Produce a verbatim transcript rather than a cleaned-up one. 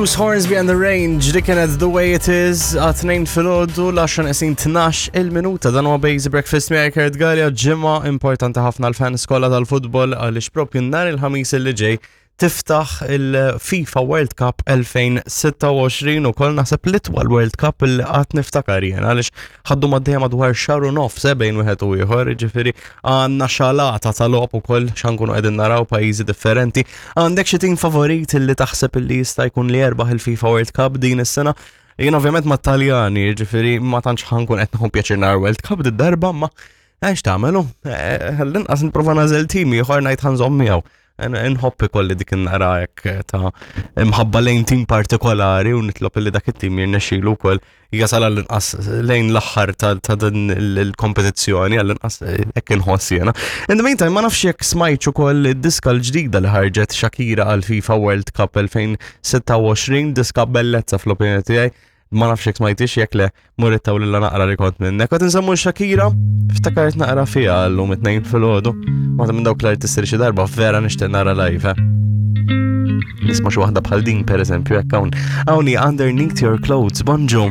Bruce Hornsby and the Range, dik kienet The Way It Is, għat-tnejn filgħodu, l-għaxra neqsin tnax il-minuta. Dan huwa Basic Breakfast miegħi Kurt Galea, ġimgħa importanti ħafna l-fans kollha tal-futbol għaliex propju nhar il-Ħamis li ġej tiftaħ il-FIFA World Cup elfejn u sitta u għoxrin u koll naħseb l-itwal World Cup li qatt niftakar jien, għaliex ħaddu maddejja madwar xahar u nofs eh, bejn wieħed u ieħor, ġifieri għandna xalata ta' logħob ukoll x'ankunu qegħdin naraw pajjiżi differenti. Għandek xi tim favorit li taħseb li jista' jkun li jerbaħ il-FIFA World Cup din is-sena? Jien ovvjament ma' Taljani, ġifieri ma tantx ħa nkun qed nieħu pjaċir nar World Cup did-darba, ma għax tagħmelu, għall-inqas nipprova nagħżel tim ieħor ngħid ħa nżomm miegħu. Nħobb ikolli dik nara hekk ta' imħabba lejn tim partikolari u nitlob li dak it-tim jirnexxilu wkoll jasal għall-inqas lejn l-aħħar ta' ta' din il-kompetizzjoni, għall-inqas hekk inħoss jiena. In the meantime, ma nafx jekk smajtx ukoll id-diska l-ġdida li ħarġet Shakira għal FIFA World Cup elfejn u sitta u għoxrin, diska bellezza fl-opinjoni tiegħi. Ma nafx jekk smajtix, jekk le murittaw lilla naqra li kont minnek. Qed nsemmu Shakira, ftakart naqra fiha llum it-tnejn filgħodu. Waħda minn dawk l-artisti li xi darba vera nixtieq nara live, eh. Nisma' xi waħda bħal din, pereżempju, hekk hawn. Hawnhi Underneath Your Clothes, bonġu.